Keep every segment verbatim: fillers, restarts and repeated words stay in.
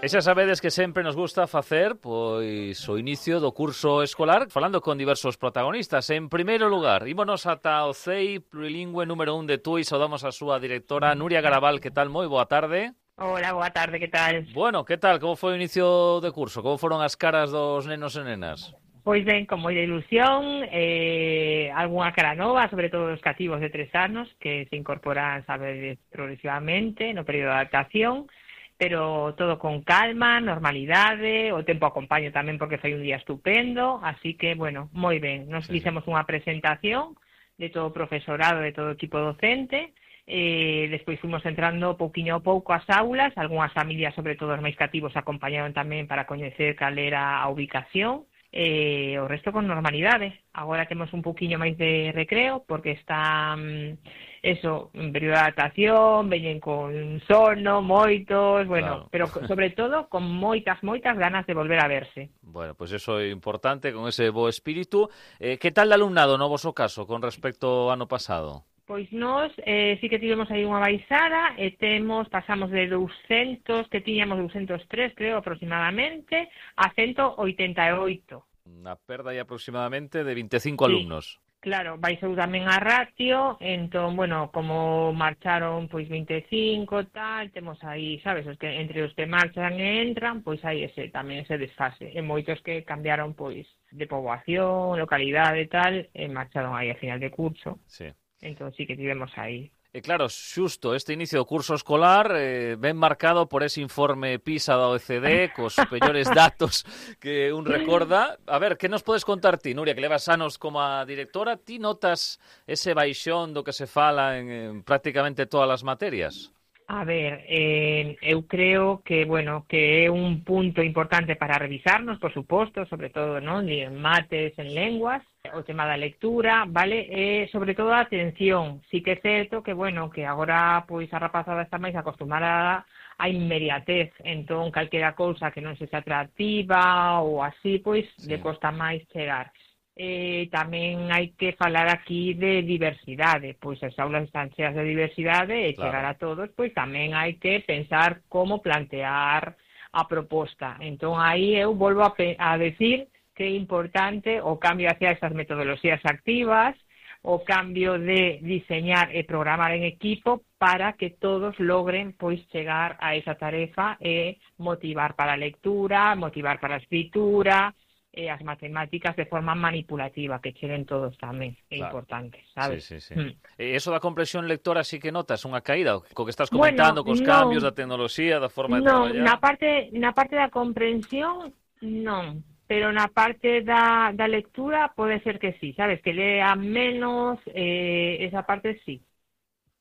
E xa sabedes que sempre nos gusta facer pois o inicio do curso escolar falando con diversos protagonistas. En primeiro lugar, ímonos ata o C E I plurilingüe número un de Tui. Saudamos a súa directora Nuria Garabal. Que tal? Moi boa tarde. Hola, boa tarde, que tal? Bueno, que tal? Como foi o inicio de curso? Como foron as caras dos nenos e nenas? Pois ben, con moita ilusión, eh, algunha cara nova, sobre todo os cativos de tres anos, que se incorporan, sabedes, progresivamente no período de adaptación, pero todo con calma, normalidade, o tempo acompaño tamén porque foi un día estupendo, así que, bueno, moi ben. Nos sí, fixemos unha presentación de todo o profesorado, de todo o equipo docente, eh, despois fomos entrando pouquiño a pouco ás aulas, algunhas familias, sobre todo os máis cativos, acompañaron tamén para coñecer cal era a ubicación, e o resto con normalidade. Agora temos un pouquiño máis de recreo porque está mm, eso, en período de adaptación, veñen con sono, moitos, bueno, Claro. pero sobre todo con moitas, moitas ganas de volver a verse. Bueno, pois pues eso é importante, con ese bo espírito. Eh, que tal de alumnado no voso caso con respecto ao ano pasado? Pois nós eh, sí que tivemos aí unha baixada e temos, pasamos de douscentos, que tiñamos douscentos tres, creo, aproximadamente, a ciento oitenta e oito. Unha perda aí aproximadamente de vinte e cinco Sí. alumnos. Claro, baixou tamén a ratio, entón, bueno, como marcharon pois vinte e cinco, tal, temos aí, sabes, os que entre os que marchan e entran, pois hai ese tamén ese desfase. E moitos que cambiaron pois de poboación, localidade e tal, e marcharon aí a final de curso. Sí. Entón sí que tivemos aí. E claro, xusto este inicio do curso escolar eh, ben marcado por ese informe PISA da O E C D, cos superiores datos que un recorda. A ver, que nos podes contar ti, Nuria, que levas anos como a directora? Ti notas ese baixón do que se fala en, en prácticamente todas as materias? A ver, eh, eu creo que, bueno, que é un punto importante para revisarnos, por suposto, sobre todo, non, en mates, en lenguas, o tema da lectura, vale, e sobre todo a atención. Sí que é certo que, bueno, que agora, pois, a rapazada está máis acostumada a inmediatez, entón, calquera cousa que non sexa atractiva ou así, pois, Sí. le costa máis chegar. Eh, tamén hai que falar aquí de diversidade, pois as aulas están cheas de diversidade e Claro. chegar a todos, pois tamén hai que pensar como plantear a proposta. Entón aí eu volvo a, a decir que é importante o cambio hacia esas metodoloxías activas, o cambio de diseñar e programar en equipo para que todos logren pois chegar a esa tarefa e motivar para a lectura, motivar para a escritura, e as matemáticas de forma manipulativa, que cheguen todos tamén, é Claro. importante, sabes? Sí, sí, sí. Mm. E iso da comprensión lectora sí que notas unha caída, co que estás comentando, Bueno, cos non. cambios da tecnoloxía, da forma de Non, traballar. na parte, na parte da comprensión, non, pero na parte da, da lectura pode ser que sí, sabes? Que lea menos, eh, esa parte sí.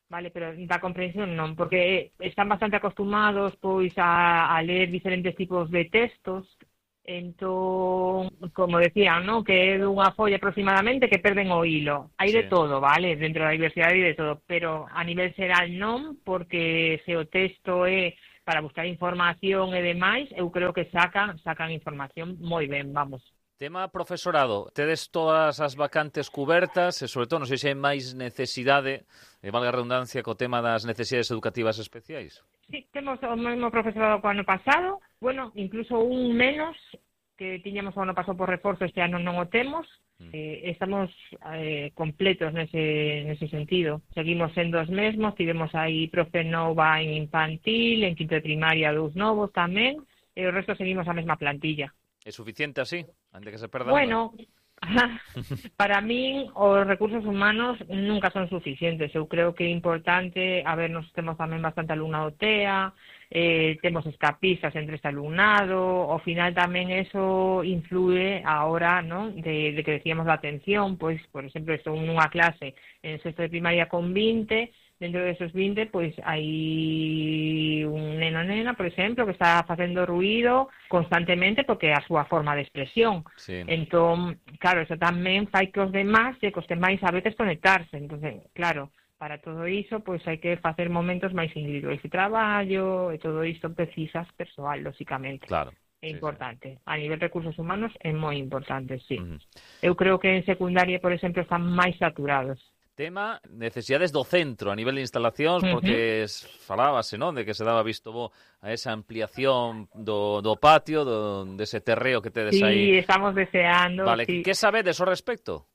Vale, pero da comprensión non, porque están bastante acostumados pois a, a ler diferentes tipos de textos. Entón, como decían, ¿no? Que é dunha folla aproximadamente que perden o hilo. Hai Sí. de todo, vale? Dentro da diversidade hai de todo, pero a nivel xeral non, porque se o texto é para buscar información e demais, eu creo que sacan, sacan información moi ben, vamos. Tema profesorado, tedes todas as vacantes cubertas e, sobre todo, non sei se hai máis necesidade, e valga a redundancia, co tema das necesidades educativas especiais. Sí, temos o mesmo profesorado que o ano pasado, bueno, incluso un menos que tiñamos o ano pasado por reforzo, este ano non o temos, Mm. eh, estamos eh, completos nese, nese sentido. Seguimos sendo os mesmos, tivemos aí profe nova en infantil, en quinto de primaria dous novos tamén, e o resto seguimos a mesma plantilla. É suficiente así, antes que se perda Bueno, para min os recursos humanos nunca son suficientes. Eu creo que é importante, a ver, nos temos tamén bastante alumnado T E A, eh, temos escapistas entre este alumnado, ao final tamén eso influe a hora, ¿no? de, de que decíamos la atención, pois, por exemplo, estou nunha clase en sexto de primaria con vinte, dentro de esos vinte, pois hai un neno nena, por exemplo, que está facendo ruído constantemente porque é a súa forma de expresión. Sí. Entón, claro, eso tamén fai que os demás se coste máis a veces conectarse. Entón, claro, para todo iso, pois hai que facer momentos máis individuais de traballo, e todo isto precisas persoal, lóxicamente. Claro. É Sí, importante. Sí. A nivel recursos humanos é moi importante, sí. Uh-huh. Eu creo que en secundaria, por exemplo, están máis saturados. Tema necesidades do centro a nivel de instalacións, porque uh-huh. falábase, non, de que se daba visto bo a esa ampliación do, do patio, do, dese terreo que tedes sí, aí. Sí, estamos deseando. Vale, sí. que sabedes ao respecto?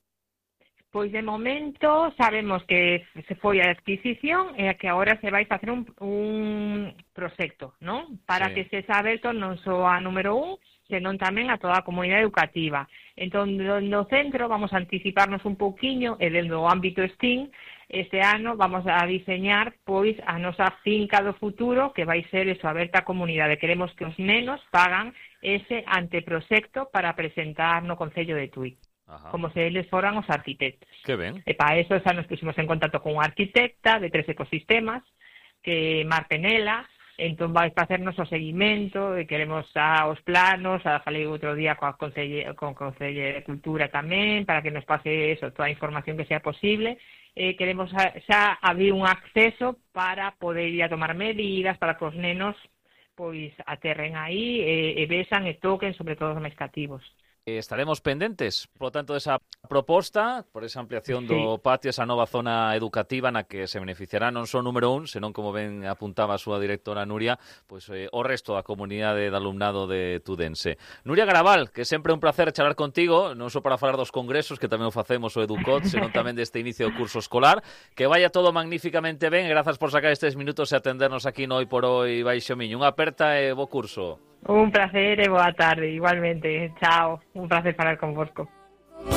Pois de momento sabemos que se foi a adquisición e que agora se vai facer un, un proxecto, non? Para sí. que se xa aberto non só a número un, senón tamén a toda a comunidade educativa. Entón, no centro vamos a anticiparnos un pouquiño e dentro do ámbito S T E A M este ano vamos a diseñar pois a nosa finca do futuro que vai ser eso, aberta á comunidade. Queremos que os nenos pagan ese anteproxecto para presentar no Concello de Tui. Ajá. Como se eles foran os arquitectos. Que ben. E para eso xa nos pusimos en contacto con unha arquitecta de tres ecosistemas, que Mar Penela. Entón vai facernos o seguimento e queremos xa os planos, xa falei outro día coa Concelle, con Concello de Cultura tamén, para que nos pase eso, toda a información que sea posible. Eh, queremos xa, xa abrir un acceso para poder ir a tomar medidas, para que os nenos pois aterren aí e, e vexan e toquen, sobre todo os máis cativos. Estaremos pendentes, por lo tanto, desa proposta, por esa ampliación do patio, esa nova zona educativa na que se beneficiará non só número un, senón, como ben apuntaba a súa directora Nuria, pois eh, o resto da comunidade de alumnado de Tudense. Nuria Garabal, que sempre é un placer charlar contigo, non só para falar dos congresos, que tamén o facemos o Educot, senón tamén deste inicio do curso escolar, que vaya todo magníficamente ben, e grazas por sacar estes minutos e atendernos aquí no Hoy por Hoy Baixo Miño. Unha aperta e bo curso. Un placer e boa tarde, igualmente. Chao, un placer falar con vosco.